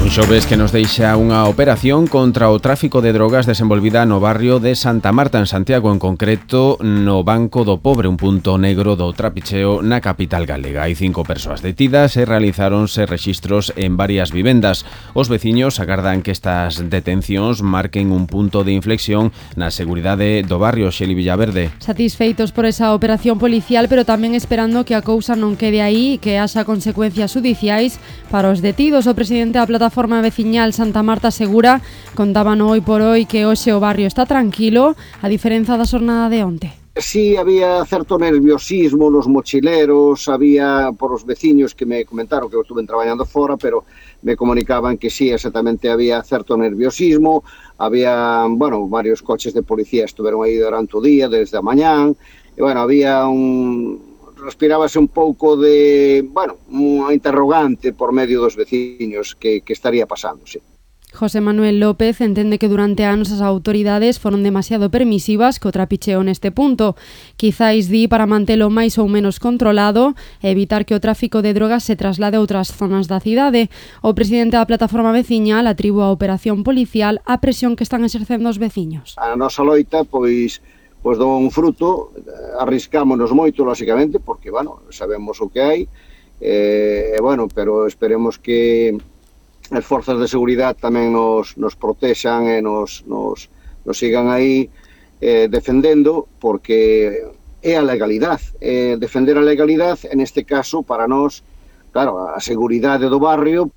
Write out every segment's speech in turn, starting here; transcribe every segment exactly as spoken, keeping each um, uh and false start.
Un xoves que nos deixa unha operación contra o tráfico de drogas desenvolvida no barrio de Santa Marta, en Santiago, en concreto no Banco do Pobre, un punto negro do trapicheo na capital galega. Hai cinco persoas detidas e realizáronse rexistros en varias vivendas. Os veciños agardan que estas detencións marquen un punto de inflexión na seguridade do barrio. Xeli Villaverde. Satisfeitos por esa operación policial, pero tamén esperando que a cousa non quede aí e que haxa consecuencias judiciais para os detidos. O presidente da plataforma veciñal Santa Marta asegura, contaban hoy por hoy, que hoxe o barrio está tranquilo, a diferenza da xornada de onte. Sí, había certo nerviosismo nos mochileros, había por os veciños que me comentaron que eu estuve traballando fora, pero me comunicaban que sí, exactamente había certo nerviosismo, había, bueno, varios coches de policía estuveron aí durante o día, desde a mañán, e, bueno, había un... respirábase un pouco de, bueno, unha interrogante por medio dos veciños que, que estaría pasando, sí. José Manuel López entende que durante anos as autoridades foron demasiado permisivas co trapicheo neste punto. Quizáis di para mantelo máis ou menos controlado e evitar que o tráfico de drogas se traslade a outras zonas da cidade. O presidente da plataforma veciñal atribúe a operación policial a presión que están exercendo os veciños. A nosa loita, pois, pois dou un fruto, arriscámonos moito, lógicamente, porque, bueno, sabemos o que hai, e, bueno, pero esperemos que as forzas de seguridade tamén nos, nos protexan e nos, nos, nos sigan aí eh, defendendo, porque é a legalidade, eh, defender a legalidade, en este caso, para nós, claro, a seguridade do barrio.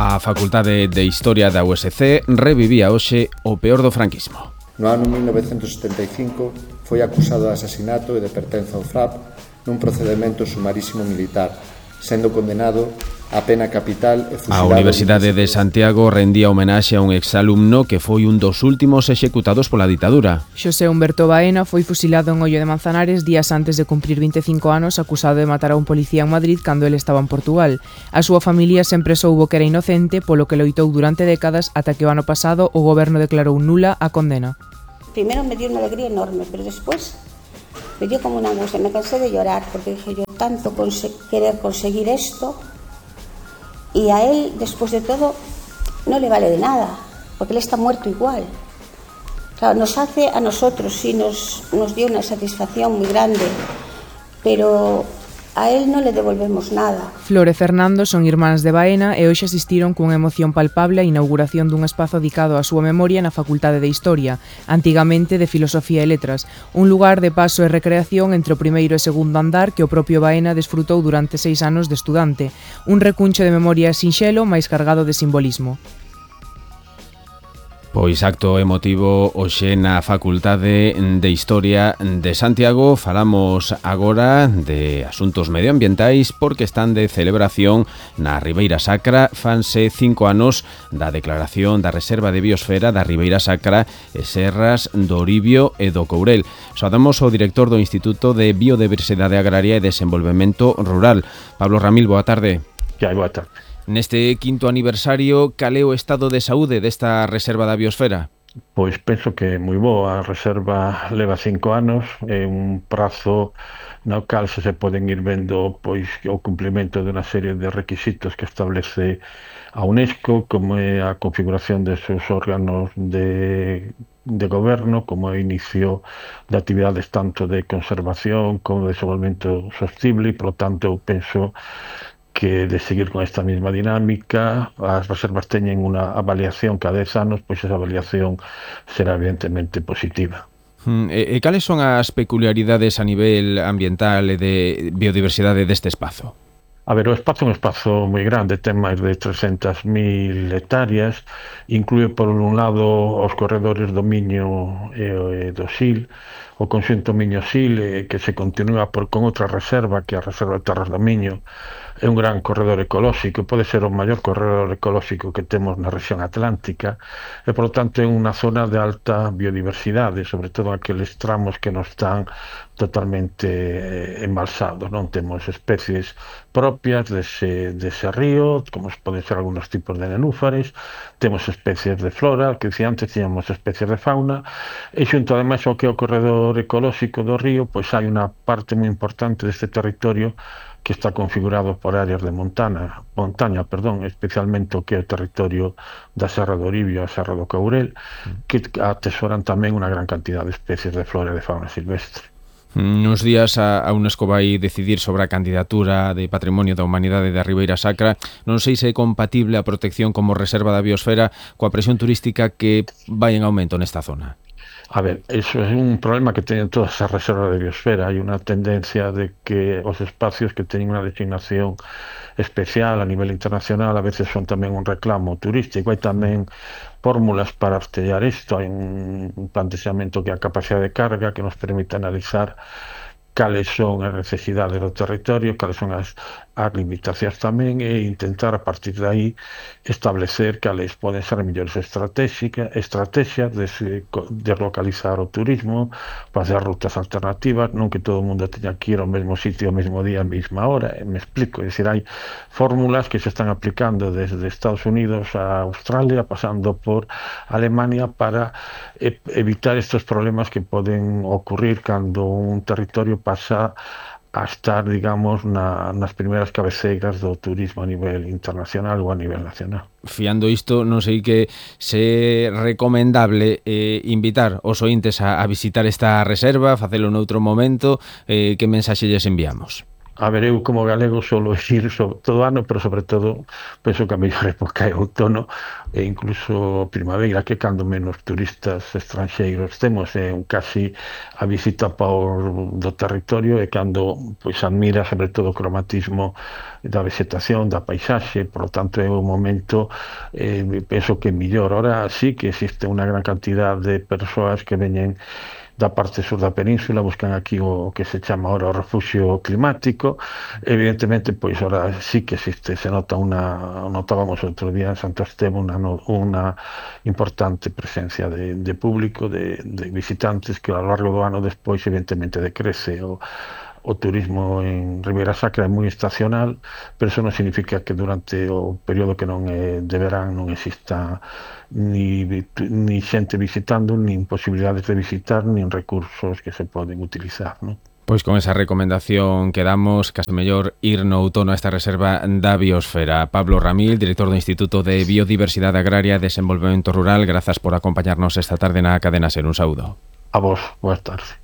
A Facultade de Historia da U S C revivía hoxe o peor do franquismo. No ano mil novecentos setenta e cinco foi acusado de asasinato e de pertenza ao F R A P nun procedemento sumarísimo militar, sendo condenado a pena capital e fusilado. A Universidade de Santiago rendía homenaxe a un exalumno que foi un dos últimos executados pola ditadura. Xosé Humberto Baena foi fusilado en Ollo de Manzanares días antes de cumprir vinte e cinco anos, acusado de matar a un policía en Madrid cando ele estaba en Portugal. A súa familia sempre soubo que era inocente, polo que loitou durante décadas ata que o ano pasado o goberno declarou nula a condena. Primero me dio una alegría enorme, pero después me dio como una angustia. Me cansé de llorar porque dije yo tanto conse- querer conseguir esto, y a él, después de todo, no le vale de nada, porque él está muerto igual. Claro, nos hace a nosotros, sí, nos, nos dio una satisfacción muy grande, pero a él no le devolvemos nada. Flor e Fernando son irmáns de Baena e hoxe asistiron cunha emoción palpable á inauguración dun espazo dedicado á súa memoria na Facultade de Historia, antigamente de Filosofía e Letras, un lugar de paso e recreación entre o primeiro e segundo andar que o propio Baena desfrutou durante seis anos de estudante, un recuncho de memoria sinxelo máis cargado de simbolismo. Pois acto emotivo hoxe na Facultade de Historia de Santiago. Falamos agora de asuntos medioambientais porque están de celebración na Ribeira Sacra. Fanse cinco anos da declaración da Reserva de Biosfera da Ribeira Sacra e Serras do Oribio e do Courel. Saudamos ao director do Instituto de Biodiversidade Agraria e Desenvolvemento Rural, Pablo Ramil. Boa tarde. Que hai, boa tarde. Neste quinto aniversario, cal é o estado de saúde desta Reserva da Biosfera? Pois penso que é moi boa. A reserva leva cinco anos, é un prazo no cal se poden ir vendo pois o cumprimento de unha serie de requisitos que establece a UNESCO, como é a configuración de seus órganos de, de goberno, como é o inicio de actividades tanto de conservación como de desenvolvemento sostible, e, por lo tanto, eu penso que de seguir con esta mesma dinámica. As reservas teñen unha avaliación cada dez anos, pois esa avaliación será evidentemente positiva. Mm, e, e cales son as peculiaridades a nivel ambiental e de biodiversidade deste espazo? A ver, o espazo é un espazo moi grande, ten máis de trescentas mil hectáreas, inclúe por un lado os corredores do Miño e do Sil, o conxunto Miño-Sil, que se continúa por, con outra reserva, que é a Reserva de Terras do Miño. É un gran corredor ecolóxico, pode ser o maior corredor ecolóxico que temos na rexión atlántica, e, por lo tanto, é unha zona de alta biodiversidade, sobre todo aqueles tramos que non están totalmente embalsados, non temos especies propias dese, dese río, como poden ser algunos tipos de nenúfares, temos especies de flora, que dicía antes, tíamos especies de fauna, e xunto ademais ao que é o corredor valor ecolóxico do río, pois hai unha parte moi importante deste territorio que está configurado por áreas de montana, montaña, perdón, especialmente o que é o territorio da Serra do Oribio e a Serra do Courel, que atesoran tamén unha gran cantidad de especies de flora e de fauna silvestre. Nos días a, a UNESCO vai decidir sobre a candidatura de Patrimonio da Humanidade da Ribeira Sacra. Non sei se é compatible a protección como reserva da biosfera coa presión turística que vai en aumento nesta zona. A ver, eso é un problema que teñen todas as reservas de biosfera. Hai unha tendencia de que os espacios que teñen unha designación especial a nivel internacional a veces son tamén un reclamo turístico. Hai tamén fórmulas para artellar isto. Hai un plantexamento que é a capacidade de carga que nos permite analizar cales son as necesidades do territorio, cales son as, as limitacións tamén, e intentar a partir de aí establecer cales poden ser mellores estrategias de deslocalizar o turismo, facer rutas alternativas, non que todo o mundo teña que ir ao mesmo sitio ao mesmo día, a mesma hora, e me explico, é dicir, hai fórmulas que se están aplicando desde Estados Unidos a Australia, pasando por Alemania, para evitar estes problemas que poden ocurrir cando un territorio pasa a estar, digamos, na, nas primeiras cabeceiras do turismo a nivel internacional ou a nivel nacional. Fiando isto, non sei que se é recomendable eh, invitar os ointes a, a visitar esta reserva, facelo noutro momento, eh, que mensaxe lles enviamos? A ver, eu como galego solo ir sobre todo ano, pero sobre todo penso que a mellor época é outono e incluso primavera, que cando menos turistas estranxeiros temos, é un casi a visita por do territorio e cando pois admira sobre todo o cromatismo da vegetación, da paisaxe, por lo tanto é un momento eh, penso que mellor. Ahora sí que existe unha gran cantidad de persoas que veñen da parte sur da península, buscan aquí o que se chama ahora o refugio climático. Evidentemente, pois ahora sí que existe, se nota unha, notábamos outro día en Santo Esteban unha, unha importante presencia de, de público, de, de visitantes que ao largo do ano despois evidentemente decrece. O, o turismo en Ribeira Sacra é moi estacional, pero eso non significa que durante o período que non é de verán non exista ni, ni xente visitando, ni posibilidades de visitar, ni recursos que se poden utilizar, non? Pois con esa recomendación que damos, case mellor ir no outono a esta reserva da biosfera. Pablo Ramil, director do Instituto de Biodiversidade Agraria e Desenvolvemento Rural, grazas por acompañarnos esta tarde na Cadena Ser. Un saúdo. A vos, boas tardes.